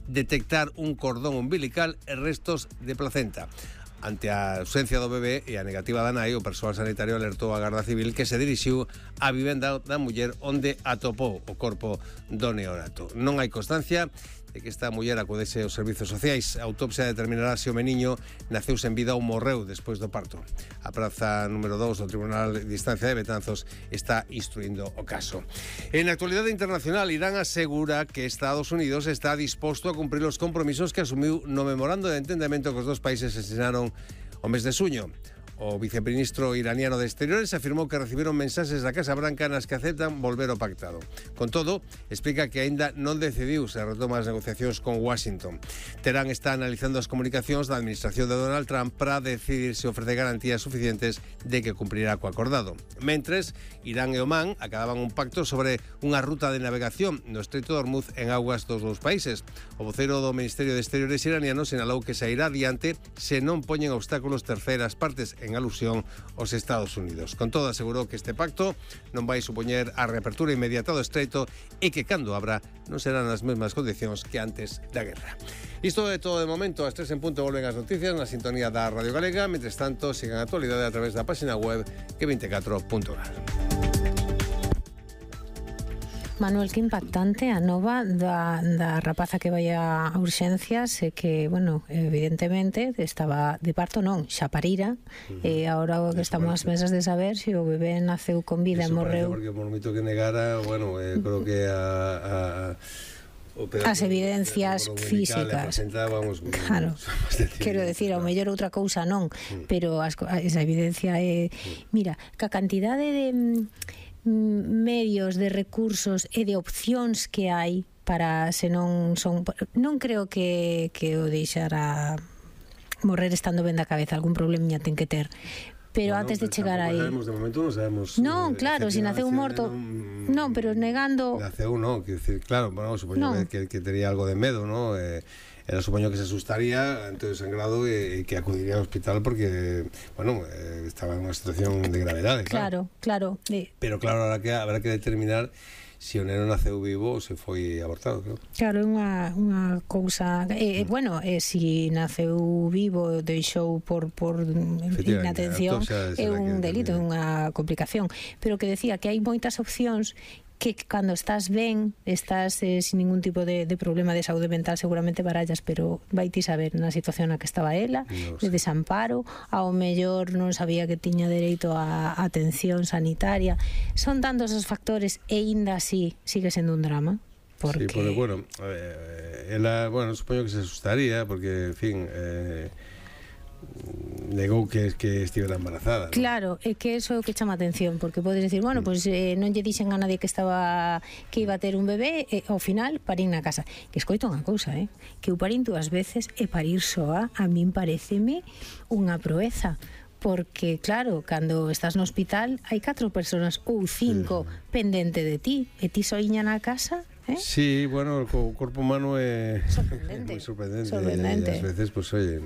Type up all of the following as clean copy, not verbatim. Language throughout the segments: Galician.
detectar un cordón umbilical e restos de placenta. Ante a ausencia do bebé e a negativa da nai, o persoal sanitario alertou a Garda Civil que se dirixiu á vivenda da muller onde atopou o corpo do neonato. Non hai constancia de que esta muller acudese aos servizos sociais. A autopsia determinará se o meniño naceu sen vida ou morreu despois do parto. A praza número 2 do Tribunal de Instancia de Betanzos está instruindo o caso. En actualidade internacional, Irán asegura que Estados Unidos está disposto a cumprir os compromisos que asumiu no memorando de entendemento que os dos países asinaron o mes de xuño. O viceministro iraniano de Exteriores afirmou que recibiron mensaxes da Casa Branca nas que aceptan volver ao pactado. Con todo, explica que aínda non decidiu se retoma as negociacións con Washington. Terán está analizando as comunicacións da administración de Donald Trump para decidir se ofrece garantías suficientes de que cumprirá co acordado. Mentres, Irán e Omán acababan un pacto sobre unha ruta de navegación no Estreito de Hormuz en augas dos dous países. O voceiro do Ministerio de Exteriores iraniano sinalou que se irá adiante se non poñen obstáculos terceiras partes, en alusión aos Estados Unidos. Con todo, asegurou que este pacto non vai supoñer a reapertura inmediata do estreito e que cando abra non serán as mesmas condicións que antes da guerra. Isto é todo de momento. Ás 3 en punto volven as noticias na sintonía da Radio Galega. Mentres tanto, sigan a actualidade a través da página web que24.gal. Manuel, que impactante a nova da rapaza que vai a urxencias e que, bueno, evidentemente estaba de parto non, xa parira, e agora o que estamos ás mesas de saber se o bebé naceu con vida e morreu. Porque por moito que negara, bueno, creo que as evidencias físicas, claro, quero decir, ao mellor outra cousa non, pero esa evidencia é, mira, que a cantidade de medios, de recursos e de opcións que hai para, se non son, non creo que o deixara morrer estando ben da cabeza, algún problema ten que ter, pero antes de chegar aí de momento non sabemos. Non, claro, se naceu morto non, pero negando naceu non, quero dicir, claro, bueno, supoño que tería algo de medo, non? Era, supoño que se asustaría ante o sangrado e que acudiría ao hospital porque, bueno, estaba en unha situación de gravedade, claro. Pero claro, habrá que determinar se o neno naceu vivo ou se foi abortado, claro. Claro, é unha cousa, bueno, se naceu vivo, deixou por inatención, é un delito, é unha complicación, pero que decía que hai moitas opcións que cando estás ben, estás sin ningún tipo de problema de saúde mental, seguramente barallas, pero vai ti saber na situación na que estaba ela, de desamparo, ao mellor non sabía que tiña dereito a atención sanitaria. Son tantos os factores e aínda así sigue sendo un drama. Porque... Sí, porque, bueno, ela, bueno, supoño que se asustaría, porque, en fin, negou que estivera embarazada, ¿no? Claro, é que eso é o que chama atención, porque podes decir, bueno, pues non lle dixen a nadie que iba a ter un bebé, e ao final parín na casa. Que escoito unha cousa, que eu parín 2 veces e parir soa, a min pareceme unha proeza. Porque, claro, cando estás no hospital hai 4 persoas ou 5 pendente de ti, e ti soiña na casa. Sí, bueno, o corpo humano é moi sorprendente. E ás veces, pues, oye,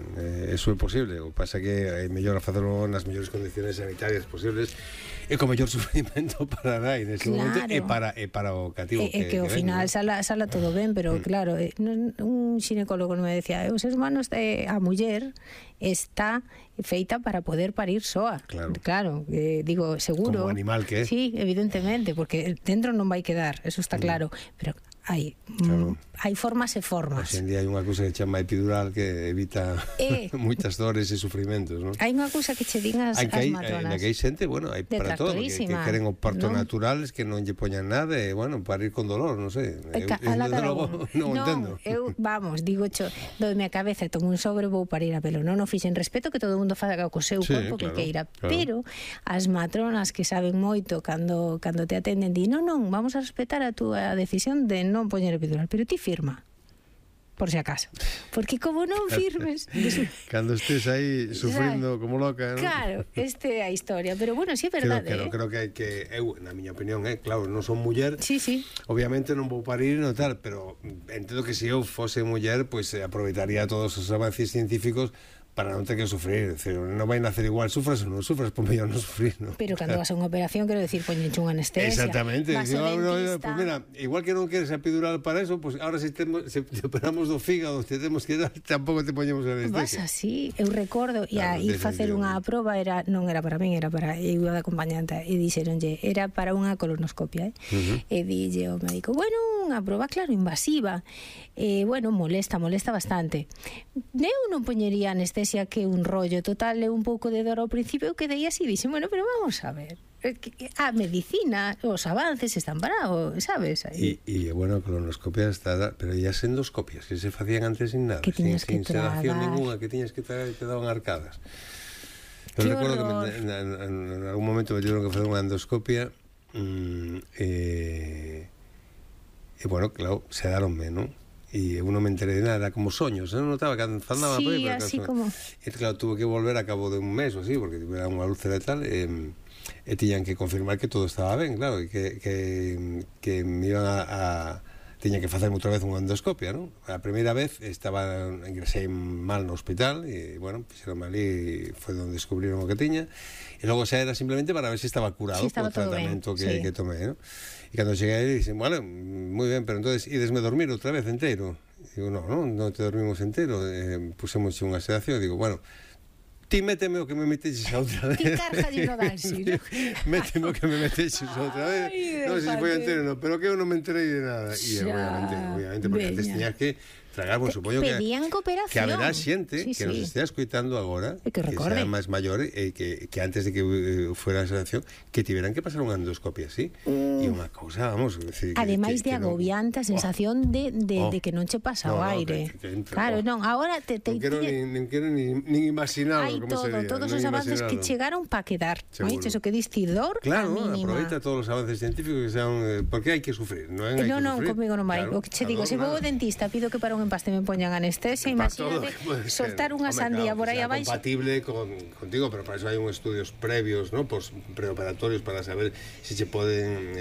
eso é posible. O que pasa que é mellor facelo nas mellores condiciones sanitarias posibles e co mellor sufrimento para nai nese momento e para o cativo. Que ao final sala todo ben, pero claro, un xinecólogo me decía, o ser humano, a muller está feita para poder parir soa. Claro, digo, seguro. Como animal que é. Sí, evidentemente, porque dentro non vai quedar, eso está claro, pero hai formas e formas. Hoxe en día hai unha cousa que chama epidural que evita moitas dores e sufrimentos, non? Hai unha cousa que che din as matronas. Que hai xente, bueno, hai para todo, que queren o parto natural, que non lle poñan nada e, bueno, parir con dolor, non sei. Non entendo. Vamos, digo, doime a cabeza, tomo un sobre, vou parir a pelo. Non o fixen, respeto que todo o mundo faga co seu corpo que queira, pero as matronas que saben moito cando te atenden, di, non, vamos a respetar a túa decisión de non poñer epidural, pero ti firma, por si acaso, porque como non firmes cando estés aí sufrindo como loca, ¿no? Claro, é a historia, pero bueno, si é verdade. Creo que hai que, eu, na miña opinión, claro, non son muller, sí. Obviamente non vou parir no tal, pero entendo que se eu fose muller, pues aproveitaría todos os avances científicos para non ter que sufrir, decir, non vai nacer igual, sufras ou non sufras, por mellor non sufrir, ¿no? Pero cando vas a unha operación, quero decir, poñenche unha anestesia. Exactamente. Vas ao dentista. Pues mira, igual que non queres a epidural para eso, pues ahora se te operamos do fígado, te temos que dar, tampouco te poñemos a anestesia. Vas así, eu recordo, e a ir facer unha proba, non era para min, era para eu de acompañante, e dixeronlle, era para unha colonoscopia, e dille ao médico, bueno, unha proba, claro, invasiva, bueno, molesta bastante. Eu non poñería anestesia que un rollo total e un pouco de dor ao principio, eu quedei así, dixen, bueno, pero vamos a ver, a medicina, os avances están parados, sabes? E bueno, colonoscopia está, pero ya endoscopias que se facían antes sin nada, que sin tragar. sedación ninguna, que tiñas que tragar e te daban arcadas. Eu recordo que en algún momento me tuvieron que facer unha endoscopia e bueno, claro, sedaronme, non? E eu non me enterei de nada, era como soños, non notaba que andaba por aí. Sí, así como... E claro, tuve que volver a cabo de un mes ou así, porque era unha úlcera e tal, e tiñan que confirmar que todo estaba ben, claro, e que me iban a tiña que facerme outra vez unha endoscopia, non? A primeira vez ingresei mal no hospital, e, bueno, fixeronme ali, foi onde descubriron o que tiña, e logo xa era simplemente para ver se estaba curado co tratamento que tomei, non? E cando cheguei aí, dixen, bueno, moi ben, pero entonces idesme dormir outra vez enteiro. Digo, non te dormimos enteiro, pusemos unha sedación, e digo, bueno, ti méteme o que me meteches a outra vez. Ti cárgalle no Dalsi, ¿no? Méteme o que me meteches a outra vez. Non sei se foi entero, non, pero que eu non me enterei de nada. E obviamente, porque antes tiñas que tragar, bueno, supoño que haberá xente que nos estea escoitando agora, que sea máis maior, e que antes de que fuera a sedación, que tiveran que pasar unha endoscopia así. E unha cousa, vamos, decir, ademais de agobiante, a sensación de que non che pasa o aire. Claro, non, agora non quero nin imaginarlo como sería. Todos os avances que chegaron para quedar, oíste, eso que diste dor, claro, aproveita todos os avances científicos que sean, porque hai que sufrir, non hai que sufrir. Non, comigo non vai. O que che digo, se vou ao dentista, pido que para un empaste me poñan anestesia, imagínate soltar unha sandía por aí abaixo. Compatible contigo, pero para eso hai uns estudios previos, ¿no? Pues preoperatorios para saber si se poden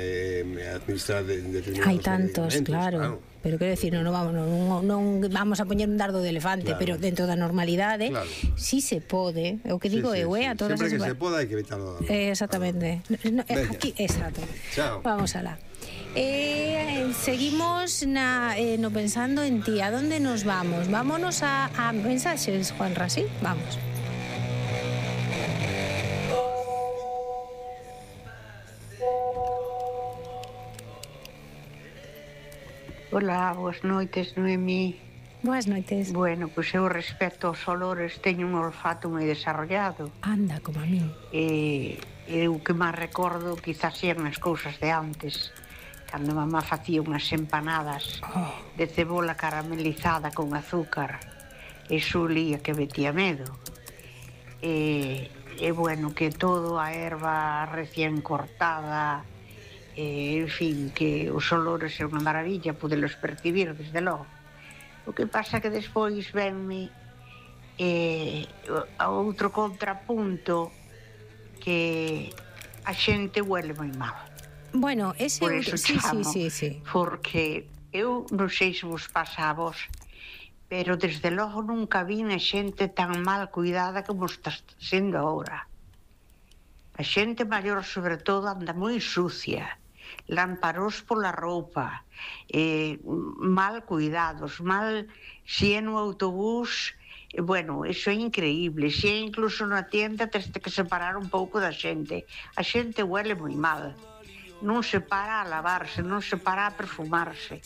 administrar determinados hai tantos, claro. Pero quero decir, non vamos a poñer un dardo de elefante, pero dentro da normalidade, si se pode, o que digo eu, a todas as... Sempre que se poda hai que evitarlo. Exactamente. Aquí, exacto. Vamos alá. Seguimos no pensando en ti. ¿A dónde nos vamos? Vámonos a mensaxes, Juanra, ¿sí? Vamos. Hola, boas noites, Noemí. Boas noites. Bueno, pois eu respecto aos olores teño un olfato moi desarrollado. Anda, como a min. Eu que máis recordo quizás sean as cousas de antes, cando mamá facía unhas empanadas de cebola caramelizada con azúcar, e xulía que metía medo. E bueno, que todo a erva recién cortada, en fin, que os olores é unha maravilla podelos percibir desde logo. O que pasa que despois venme a outro contrapunto, que a xente huele moi mal. Bueno, ese por eso chamo, sí. Porque eu non sei se vos pasa a vos, pero desde logo nunca vin a xente tan mal cuidada como está sendo agora. A xente maior, sobre todo, anda moi sucia, lamparos pola roupa, mal cuidados, mal, si é no autobús, bueno, iso é increíble, si é incluso na tienda tens que separar un pouco da xente. A xente huele moi mal, non se para a lavarse, non se para a perfumarse.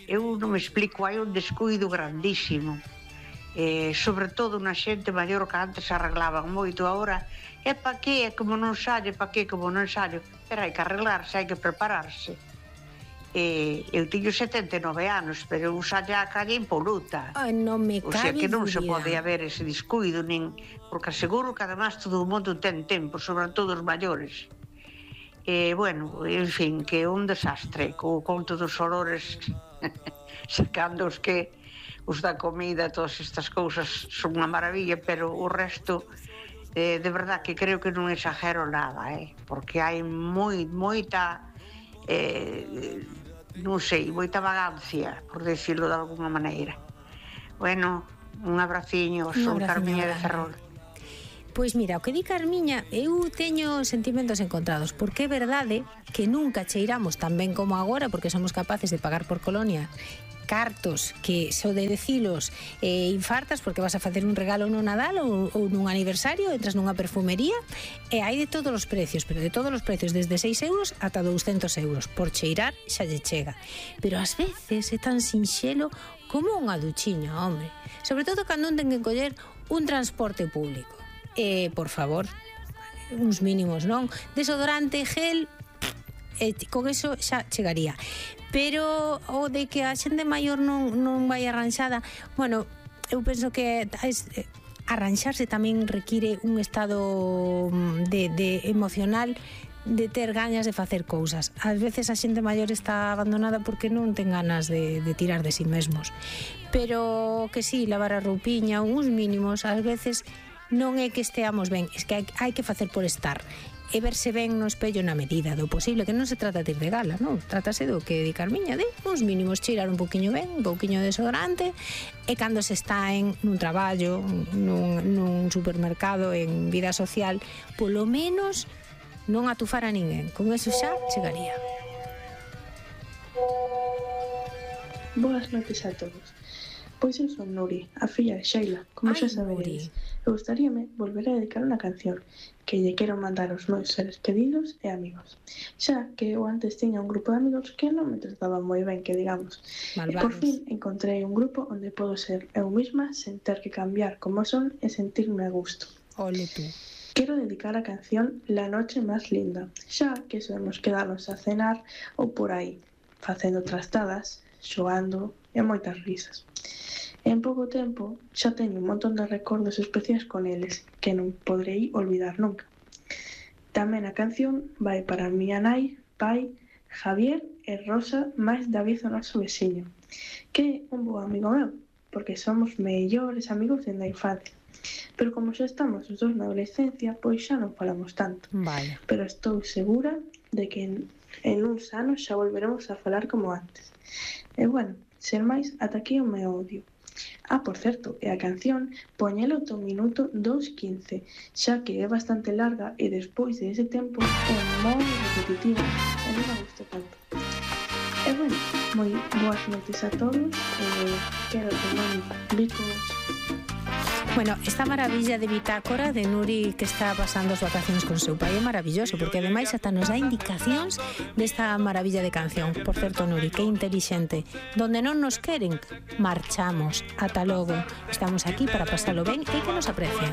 Eu non me explico, hai un descuido grandísimo, sobre todo na xente maior, que antes arreglaban moito, agora é pa que, é como non sallo, pa que, como non sallo, pero hai que arreglarse, hai que prepararse. Eu teño 79 anos, pero eu sallo a calle impoluta. Ai, non me cabe. O sea que non se pode haber ese descuido, nin, porque aseguro que además todo o mundo ten tempo, sobre todo os maiores. Bueno, en fin, que é un desastre, co conto dos olores, sacando os da comida, todas estas cousas son unha maravilla, pero o resto, de verdad que creo que non exagero nada, porque hai moita, non sei, moita vagancia, por decirlo de alguna maneira. Bueno, Un abraciño, son Carmiña de Ferrol. Pois mira, o que di Carmiña, eu teño sentimentos encontrados, porque é verdade que nunca cheiramos tan ben como agora, porque somos capaces de pagar por colonia cartos que só de decilos infartas porque vas a facer un regalo no Nadal ou nun aniversario, entras nunha perfumería e hai de todos os precios, pero de todos os precios, desde 6 euros ata 200 euros. Por cheirar xa lle chega. Pero ás veces é tan sinxelo como unha duchiña, hombre. Sobre todo cando ten que coller un transporte público. Por favor, uns mínimos, non? Desodorante, gel, con eso xa chegaría. Pero o de que a xente maior non vai arranxada, bueno, eu penso que arranxarse tamén require un estado de emocional, de ter gañas de facer cousas. Ás veces a xente maior está abandonada porque non ten ganas de tirar de si mesmos. Pero que sí, lavar a roupiña, uns mínimos, ás veces non é que esteamos ben, é que hai que facer por estar e verse ben no espello na medida do posible, que non se trata de ir de gala, non? Trátase do que di Carmiña, de uns mínimos, cheirar un poquinho ben, un poquinho de desodorante, e cando se está nun traballo, nun supermercado, en vida social, polo menos non atufar a ninguén. Con eso xa chegaría. Boas noites a todos. Pois eu son Nuri, a filla de Sheila, como xa saberedes. Eu gustaríame volver a dedicar unha canción que lle quero mandar aos meus seres queridos e amigos. Xa que eu antes tiña un grupo de amigos que non me trataban moi ben, que digamos. Malvados. E por fin encontrei un grupo onde podo ser eu misma sen ter que cambiar como son e sentirme a gusto. Ole tú. Quero dedicar a canción La noche más linda, xa que solemos quedarnos a cenar ou por aí, facendo trastadas, xogando e moitas risas. En pouco tempo xa teño un montón de recordos especiais con eles que non podrei olvidar nunca. Tamén a canción vai para a miña nai, pai, Javier e Rosa, máis David, o noso veciño, que é un bo amigo meu, porque somos mellores amigos dende a infancia. Pero como xa estamos os dous na adolescencia, pois xa non falamos tanto. Vale. Pero estou segura de que en uns anos xa volveremos a falar como antes. E bueno, sen máis, ata aquí o meu audio. Por certo, e a canción poñelo do minuto 2:15, xa que é bastante larga e despois de ese tempo é moi repetitiva e non me gusta tanto. E bueno, moi boas noites a todos e quero tomar bicos. Bueno, esta maravilla de bitácora de Nuri que está pasando as vacacións con seu pai é maravilloso, porque ademais ata nos dá indicacións desta maravilla de canción. Por certo, Nuri, que inteligente. Donde non nos queren, marchamos. Ata logo. Estamos aquí para pasalo ben e que nos aprecien.